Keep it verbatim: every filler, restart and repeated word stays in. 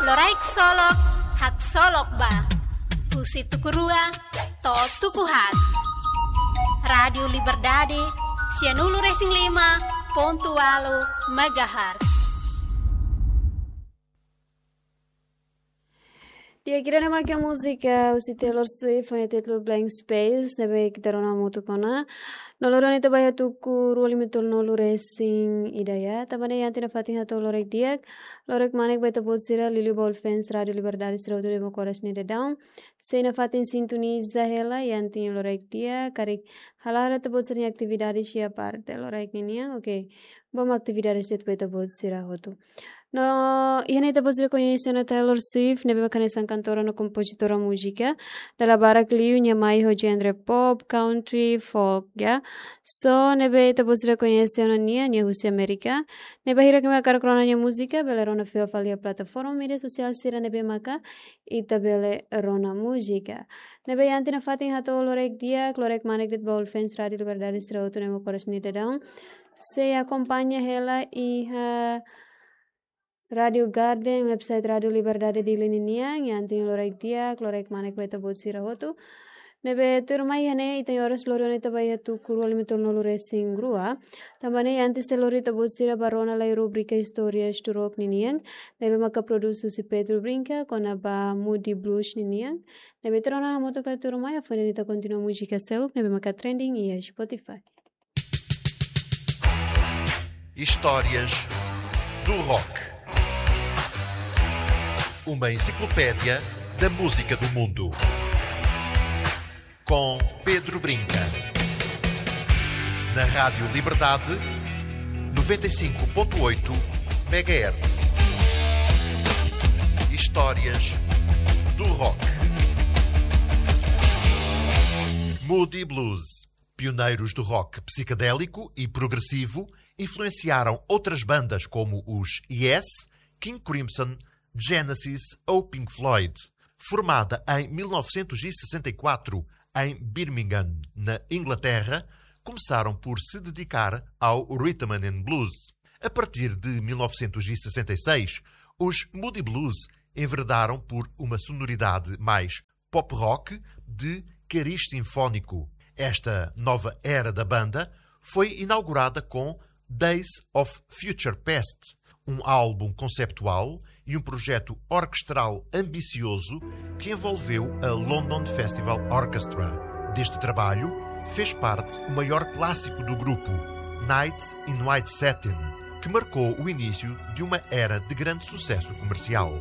Loraik Solok, haksolok ba. Husi tuku rua to'o tuku haat. Rádiu Liberdade, sianulu-resin-lima pontu ualu megahertz. Di'ak, ida-ne'e mak múzika husi Taylor Swift ho títulu Blank Space, ne'ebé ita rona hamutuk ona. No loron ita ba iha tuku rua lima tolunulu-resin-ida ya. Tanba ne'e iha ita-nia fatin hato'o loraik di'ak, loraik manek ba ita-boot sira liuliu ba fans Rádiu Liberdade sira hotu ne'ebé mak oras ne'e daudaun sei nafatin sintoniza hela iha ita-nia loraik di'ak, karik hala'o ita-boot sira-nia atividade iha parte loraik ninian, oke. Bom atividade sira ba ita-boot sira hotu. No, iha ne'e ita-boot sira koñese ona Taylor Swift, ne'ebé mak hanesan kantora no kompozitora múzika. Dala barak liu nia mai ho genre pop, country, folk, ya. So, ne'ebé ita-boot sira koñese ona nia, nia husi Amérika. Ne'ebé bainhira imi hakarak rona nia múzika, bele rona fila fali iha plataforma média sosiál sira ne'ebé maka ita bele rona múzika. Ne'ebé iha ita-nia fatin hato'o loraik di'ak, loraik manek de'it ba fans Rádiu Liberdade sira hotu ne'ebé mak oras ne'e daudaun sei akompaña hela iha Rádiu Garden, website Rádiu Liberdade Dili ninian, iha ita-nia loraik di'ak, loraik manek ba ita-boot sira hotu. Ne'ebé tuirmai iha ne'e, ita-nia oras lori ona ita ba iha tuku rua lima tolunulu-resin-rua. Tanba ne'e, antes de lori ita-boot sira ba rona lai rubrika Istórias do Rock ninian, ne'ebé maka produzidu husi Pedro Brinca, kona-ba Moody Blues ninian. Ne'ebé ita rona hamutuk lai tuirmai, hafoin ita kontinua múzika seluk, ne'ebé maka trending iha Spotify. Histórias do Rock. Uma enciclopédia da música do mundo. Com Pedro Brinca. Na Rádio Liberdade, noventa e cinco ponto oito megahertz. Histórias do Rock. Moody Blues. Pioneiros do rock psicadélico e progressivo, influenciaram outras bandas como os Yes, King Crimson, Genesis ou Pink Floyd. Formada em mil novecentos e sessenta e quatro em Birmingham, na Inglaterra, começaram por se dedicar ao rhythm and blues. A partir de mil novecentos e sessenta e seis, os Moody Blues enverdaram por uma sonoridade mais pop rock de cariz sinfónico. Esta nova era da banda foi inaugurada com Days of Future Past, um álbum conceptual e um projeto orquestral ambicioso que envolveu a London Festival Orchestra. Deste trabalho fez parte o maior clássico do grupo, Nights in White Satin, que marcou o início de uma era de grande sucesso comercial.